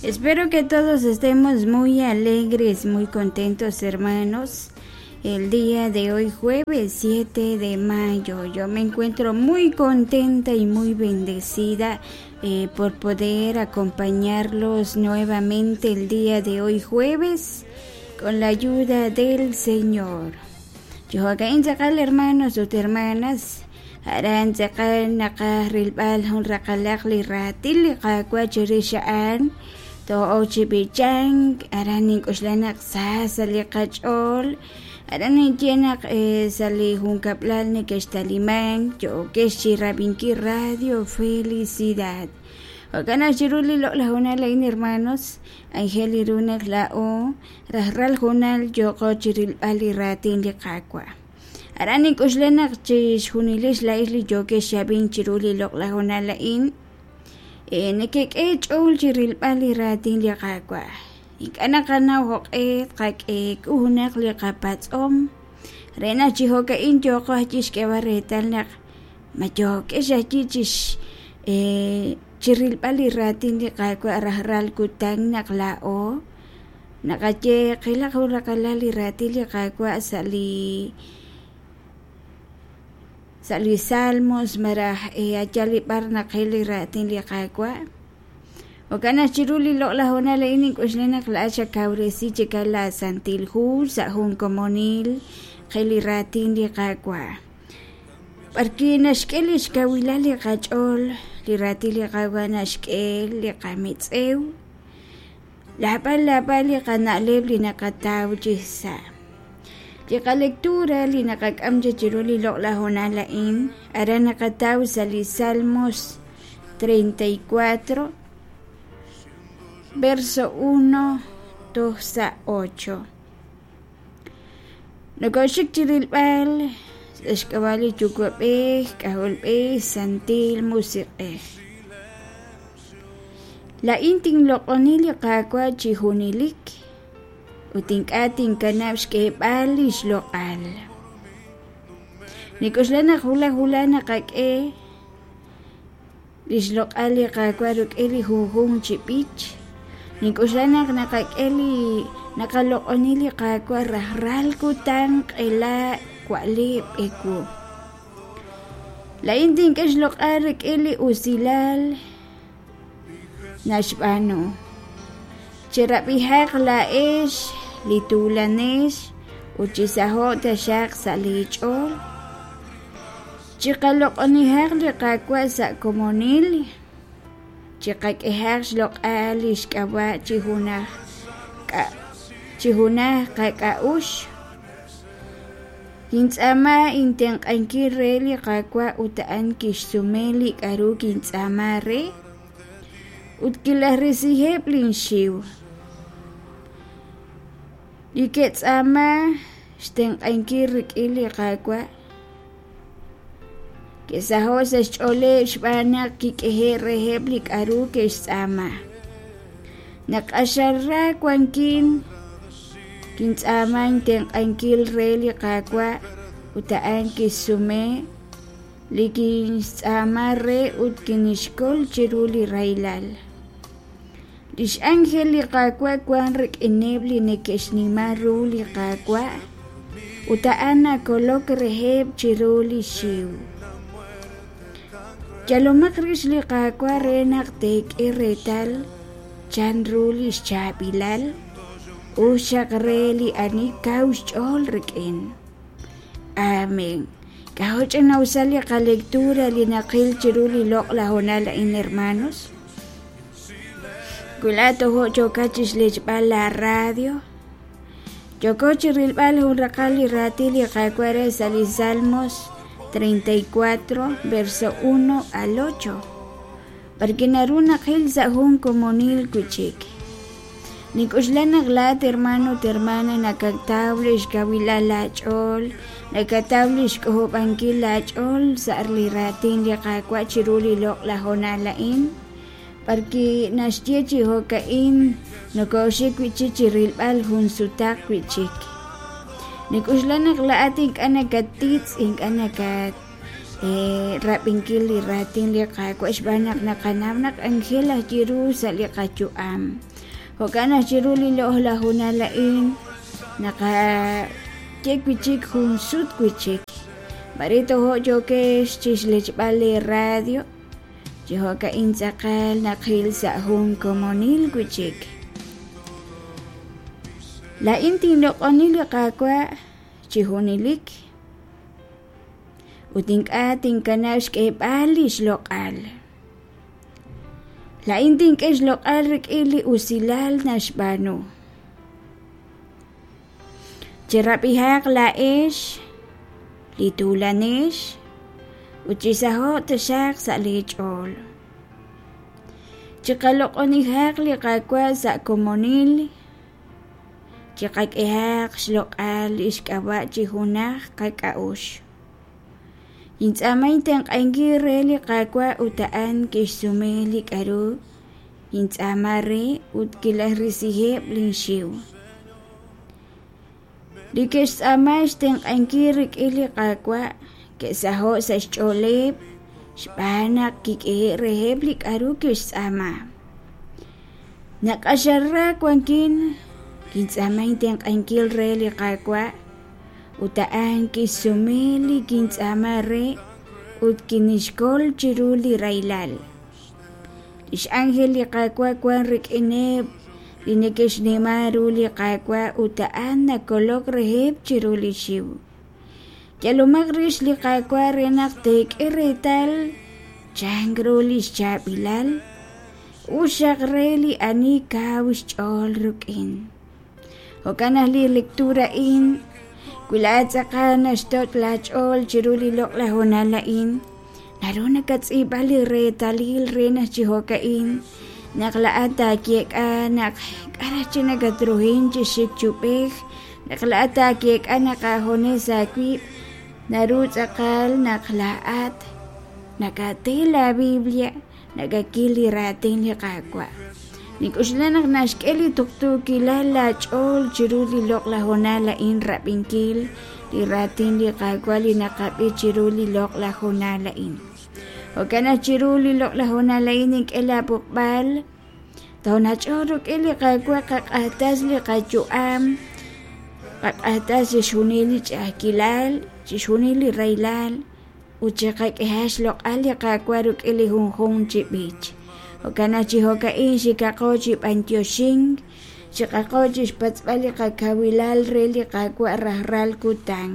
Espero que todos estemos muy alegres, muy contentos, hermanos. El día de hoy, jueves 7 de mayo, yo me encuentro muy contenta y muy bendecida eh, por poder acompañarlos nuevamente el día de hoy, jueves, con la ayuda del Señor. Chi jo'ka'in tz'aqal hermanos ut hermanas, aran tz'aqal naqaj rilb'al jun raqalaq li raatin li Qaawa' chirix a'an to'ok chi b'ichank, aran nink'oxla naq sa sa' li qach'ool, aran ninye naq sa' li junkab'lal neke'xtalimank yo'kex chi rab'inkil Radio Felicidad. Jo'kan naq chiru li loq'laj hoonal a'in hermanos, anjel li ru naq laa'o rajlal hoonal yooqo chi rilb'al li raatin li Qaawa'. Aran nink'oxla naq chixjunilix laa'ix li yookex xab'in chiru li loq'laj hoonal a'in, nekek'e ch'ool chi rilb'al li raatin li Qaawa'. Ink'a' naqanaw jo'q'e tqak'e junaq li qapatz'om re naq chi jo'ka'in yooqo ajwi' xk'eeb'al reetal naq ma yookex ajwi' chix chi rilb'al li raatin li Qaawa' rajlal kutan naq laa'o naqaye qilaq jun raqalal li raatin li Qaawa' sa' li sa' li Salmos malaj ayal li b'ar naqil li raatin li Qaawa'. Jo'kan naq chiru li loq'laj hoonal a'in nink'oxla naq laa'at xakawresi chikal la Santil Hu sa' jun komonil qil li raatin li Qaawa'. B'arwi' naxk'e li xkawilal li qach'ool, li raatin li Qaawa' naxk'e li qamitz'ew, lab'al lab'al li qana'leb' li naqataw chi sa'. Li qalectura li naqak'am chi chiru li loq'laj hoonal a'in, aran naqataw sa' li Salmos 34, verso 1 toj sa' 8. Nokoxik chi rilb'al sa' xk'ab'a' li Yuwa'b'ej, K'ajolb'ej, Santil Musiq'ej. Laa'in tinloq'oni li Qaawa' chi junelik ut ink'a' tinkanab' xk'eeb'al li xloq'al. Nik'oxla naq wulaj wulaj naqak'e li xloq'al li Qaawa' rik'in li junjunq chi b'ich. Nink'oxla naq naqak'e li naqaloq'oni li Qaawa' rajlal kutan q'ela wa'leb' ewu. Laa'in tink'e xloq'al rik'in li usilal naxb'aanu. Cherab'ihaq laa'ex li tuulanex ut chisaho'q taxaq sa' li ch'ool. Chiqaloq'onihaq li Qaawa' sa' komonil, chiqak'ehaq xloq'al li xk'ab'a' chi junaj chi junaj qak'a'uxl. Kintz'aama intenq'ankil re li Qaawa' ut a'an kixsume li k'a'ru kintz'aama re ut kilajrisiheb' linxiw. Li ke'tz'aama xtenq'ankil rik'in li Qaawa' ke'saho' sa' xch'ooleb' xb'aan naq kik'ehe' reheb' li k'a'ru ke'xtz'aama. Naq q'axal ra wankin, kintz'aama intenq'ankil re li Qaawa' ut a'an kixsume li kinxtz'aama re ut kinixkol chiru li rahilal. Li x'ánjel li Qaawa' wank rik'ineb' li neke'xnima ru li Qaawa' ut a'an nakolok reheb' chiru li xiw. Yalomaq rix li Qaawa' re naq teek'e reetal chan ru li xchaab'ilal, us xaq re li ani kaw xch'ool rik'in. Amén. K'ajo' ch'ina'usal li qalectura li naqil chiru li loq'laj hoonal a'in, hermanos. Wi laa'at tojo' yookat chixlechb'al la radio, yooko chi rilb'al jun raqal li raatin li Qaawa' re sa' li Salmos 34, verso 1 al 8, b'arwi' naru naqil sa' jun komonil wi'chik. Nink'oxla naq laa'at hermano ut hermana nakataw li xkawilal laach'ool, nakataw li xk'ojob'ankil laach'ool sa' li raatin li Qaawa' chiru li loq'laj hoonal a'in, b'arwi' naxye chi jo'ka'in nokoxik wi'chik chi rilb'al jun sutaq wi'chik. Nink'oxla naq laa'at ink'a' nakatitz', ink'a' nakat rab'inkil li raatin li Qaawa' xb'aan naq naqanaw naq anjel aj ru sa' li qayu'am. Jo'kan naq chiru li loq'laj hoonal a'in naqaye wi' chik jun sut wi' chik. Mare tojo' yookex chixlechb'al lee radio, chi jo'ka'in tz'aqal naqil sa' jun komonil wi' chik. Laa'in tinloq'oni li Qaawa' chi junelik ut ink'a' tinkanab' xk'eeb'al li xloq'al. Laa'in tink'e xloq'al rik'in li usilal naxb'aanu. Cherab'ihaq laa'ex li tuulanex ut chisaho'q taxaq sa' lee ch'ool. Chiqaloq'onihaq li Qaawa' sa' komonil, chiqak'ehaq xloq'al li xk'ab'a' chi junaj qak'a'uxl. Nintz'aama intenq'ankil re li Qaawa' ut a'an kixsume li k'aru nintz'aama re ut kilajrisiheb' linxiw. Li ke'xtz'aama xtenq'ankil rik'in li Qaawa' ke'saho'k sa' xch'ooleb' xb'aan naq kik'ehe'k reheb' li k'aru ke'xtz'aama. Naq q'axal ra wankin, kintz'aama intenq'ankil re li Qaawa' Ut a'an kixsume li kintz'aama re ut kinixkol chiru li rahilal. Li x'ánjel li Qaawa' wank rik'ineb' li neke'xnima ru li Qaawa' ut a'an nakolok reheb' chiru li xiw. Yalomaq rix li Qaawa' re naq teek'e reetal chan ru li xchaab'ilal, us xaq re li ani kaw xch'ool rik'in. Jo'kan naq li lectura a'in, wi laa'at tz'aqal naxtoch' laach'ool chiru li loq'laj hoonal a'in, naru nakatz'iib'a li reetalil re naq chi jo'ka'in naq laa'at taayeek'a naq k'a' raj chi nakatruhin chi xik chub'ej, naq laa'at taayeek'a naq aajunes aawib', naru tz'aqal naq laa'at nakate la Biblia nakakil li raatin li Qaawa'. Nink'oxla naq naxk'e li tuqtuukilal laach'ool chiru li loq'laj hoonal a'in rab'inkil li raatin li Qaawa' li naqab'i chiru li loq'laj hoonal a'in. Jo'kan naq chiru li loq'laj hoonal a'in nink'e laab'oqb'al toonach'oq rik'in li Qaawa' qaq'axtas li qayu'am, qaq'axtas chixjunil li ch'a'ajkilal, chixjunil li rahilal, ut chiqak'ehaq xloq'al li Qaawa' rik'in li junjunq chi b'ich. Jo'kan naq chi jo'ka'in xikaqo chi b'antioxink, chiqaqo chi xpatz'b'al li qakawilal re li Qaawa' rajlal kutan.